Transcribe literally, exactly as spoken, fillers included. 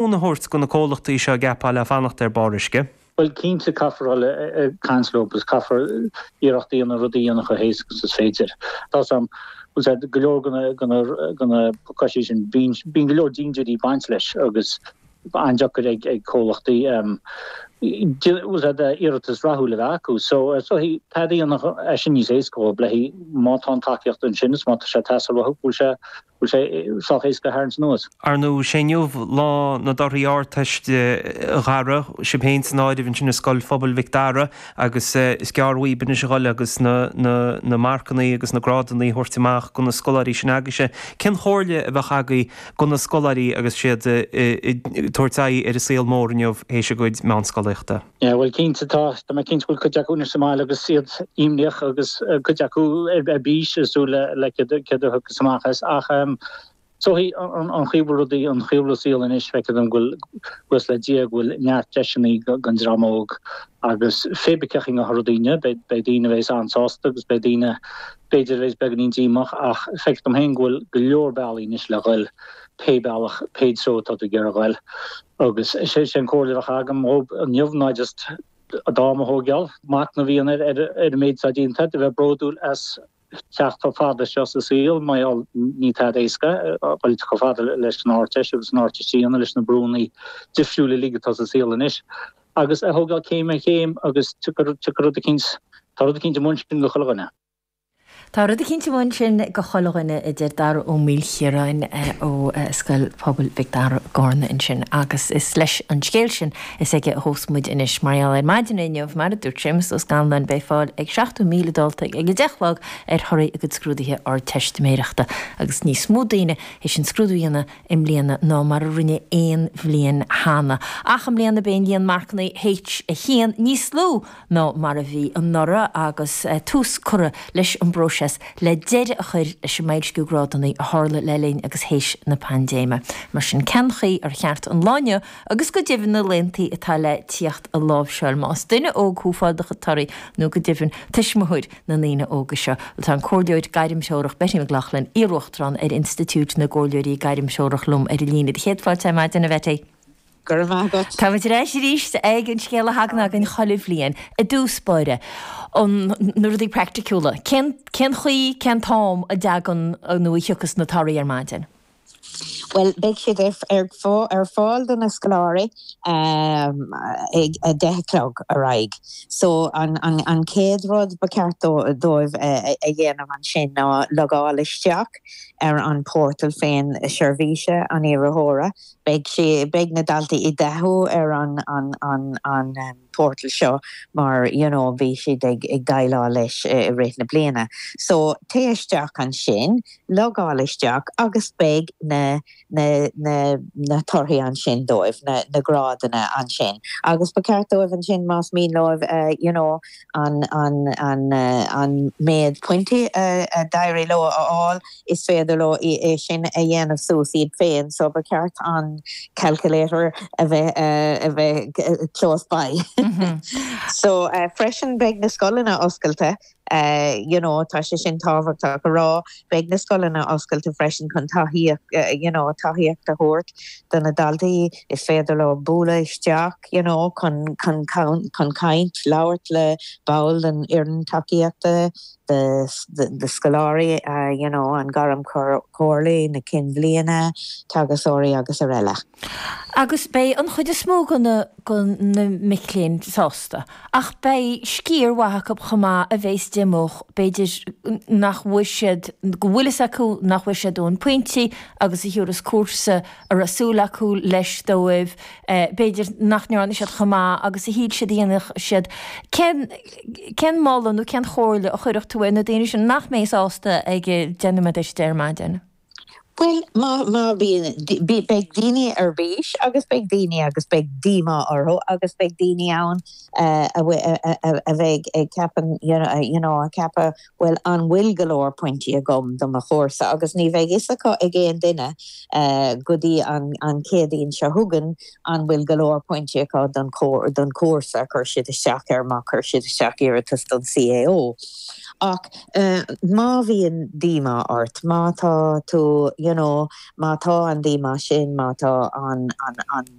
a thabhairt go na comhlachtaí seo gceapá le fanacht ar barr uisce. Well cinnte caithfear le caint leo agus caithfear iarracht a dhéanamh rudaí a dhéanamh chomh héasca is féidir. Tá sam go leor gona pacáistí sin bíonn go leor dindiúirí ag baint leis agus an-deacair ag ag comhlachtaí iarratas rathúil a bheith acu. So so tá dhéanamh é sin níos éasca le má tá an tacaíocht ansin is má tá sé teastáil uathu bhfuil sé bhfuil sé sách éasca a tharraingt anuas. Ar ndóigh sé inniu lá na dtorthaí Ardteiste a Dhara, sibh féin san áireamh ansin i Scoil Phobail Mhic Dara agus is gearr uaibh anois a dhul agus na na na marcannaí agus na grádannaí a thabhairt amach go na scoláirí sin agaibhse. Cén chomhairle a bheadh agaibh go na scoláirí agus siad ag tabhairt aghaidh ar an saol mór inniu théis a gcuid meánscolaíochta? Yeah, well cinnte tá tá mé cinnte go bhfuil cuid acu anois sa mbaile agus iad imníoch agus cuid acu ar ar bís is súil le le céard a thiocfas amach as ach um, so an an chaoi a bhfuil rudaí an chaoi a bhfuil an saol anois feictear dom go bhfuil buíochas le Dia go bhfuil neart deiseanna don dream óg agus pé ar bith cén chaoi a rudaí beidh beidh daoine a bheas an-sásta agus beidh daoine b'fhéidir a bheas beagáinín díomách ach feictear dom féin go bhfuil go leor bealaí anois le dhul pé bealach pé treo atá tú ag iarraidh a dhul agus sé sin comhairle a bheadh agam dhóibh inniu ná just a dám a thógáil machnamh a dhéanamh ar ar an méid atá déanta a bheith bródúil as teacht chomh fada seo sa saol mar ní tada éasca dul chomh fada leis an Ardteist agus an Ardteist a dhéanamh leis na brúnna difriúla uilig atá sa saol anois agus a thógáil céim ar chéim agus tiocfaidh rud eicínt tá rud eicínt amuigh ansin do chuile dhuine. Tá rud eicínt amuigh ansin do chuile dhuine a deir Dara Ó Maoilchiaráin ó Scoil Phobail Mhic Dara i gCarna ansin agus is leis an scéal sin is aige a thosós muid anois mar gheall ar maidin inniu mar a dúirt Séamus Ó Scanláin beidh fáil ag seachtó míle dalta ag a deich a chlog ar thorthaí a gcuid scrúduithe Ardteistiméireachta agus níos mó daoine théis an scrúdú a dhéanamh i mbliana ná mar a rinne aon bhliain cheana. Ach i mbliana beidh an líon marcanna H a haon níos lú ná mar a bhí anuraidh agus tús curtha leis an bpróiseas le deireadh a chur leis an mboilsciú grádanna a tharla le linn agus théis na paindéime. Mar sin cén chaoi ar cheart an lá inniu agus go deimhin na laethanta atá le tíocht a láimhseáil más duine óg thú fáil do chuid torthaí nó go deimhin tuismitheoir na ndaoine óga seo. Tá an comhairleoir gairmthreorach Betty McLaughlin iar-uachtarán ar Institiúid na gComhairleoirí Gairmthreorach liom ar an líne. Céad fáilte ar maidin a Bhetty. Go raibh maith agat. Tá muid ar ais arís ag an scéal a thagann againn chuile bhliain i dtús báire an na rudaí praiticiúla. Cén cén chaoi cén t-am a dtagann nó a thiocfas na torthaí ar maidin? Well beidh siad ar ar ar fáil do na scoláirí um, ag a deich a chlog ar aghaidh. So an, an, an chéad rud ba cheart dóibh a, a dhéanamh ansin ná logáil isteach ar an portal féin seirbhíse an iarrthóra. Beidh sé beidh na daltaí i dtaithí ar an an an an um, portal seo mar you know, bhí siad ag ag déileáil leis i rith na bliana. So téigh isteach ansin, logáil isteach agus beidh na na na na torthaí ansin dóibh na na grádanna ansin. Agus ba cheart dóibh ansin más mian leo uh, you know, an an an uh, an méid pointí uh, a d'éirigh leo a fháil is féidir leo é sin a dhéanamh suas iad féin, so ba cheart an calculator a bheith uh, a bheith close by. Mm -hmm. so uh, freisin beidh na scoileanna oscailte uh, you know, tá sé sin tábhachtach a rá beidh na scoileanna oscailte freisin chun tacaíocht uh, you know, tacaíocht a thabhairt do na daltaí is féidir leo bualadh isteach you know, chun chun chun caint labhairt le ball den fhoireann tacaíochta de de, de scoláirí uh, you know, an gairmchomhairle na cinn bhliana teagascóirí agus araile. Agus beidh an chuid is mó go go na mic léinn sásta. Ach beidh sciar mhaith acu chomh maith a bheas díomách b'fhéidir nach bhfuil siad go bhfuil fhios acu nach bhfuil siad ón pointí agus a thiúras cúrsa a raibh súil acu leis dóibh b'fhéidir nach ndearna siad chomh maith agus a shíl siad a dhéanfadh siad cén cén moladh nó cén chomhairle a chuirfeadh tú ar na daoine sin nach mbeidh sásta ag déanamh ar maidin. Well má má bhíonn beidh daoine ar bís agus beidh daoine agus beidh díomá orthu agus beidh daoine ann uh, a, a, a, a bheidh ag ceapadh you know, you know, a ceapadh well an bhfuil go leor pointí agam do mo chúrsa agus ní bheidh fhios acu ag aon duine uh, go dtí an, an Chéadaoin seo chugainn an bhfuil go leor pointí acu don, don cúrsa chuir siad isteach ar má chuir siad isteach iarratas don CAO. Ach uh, má bhíonn díomá ort, má tá tú you know, má tá an díomá sin má tá an, an, an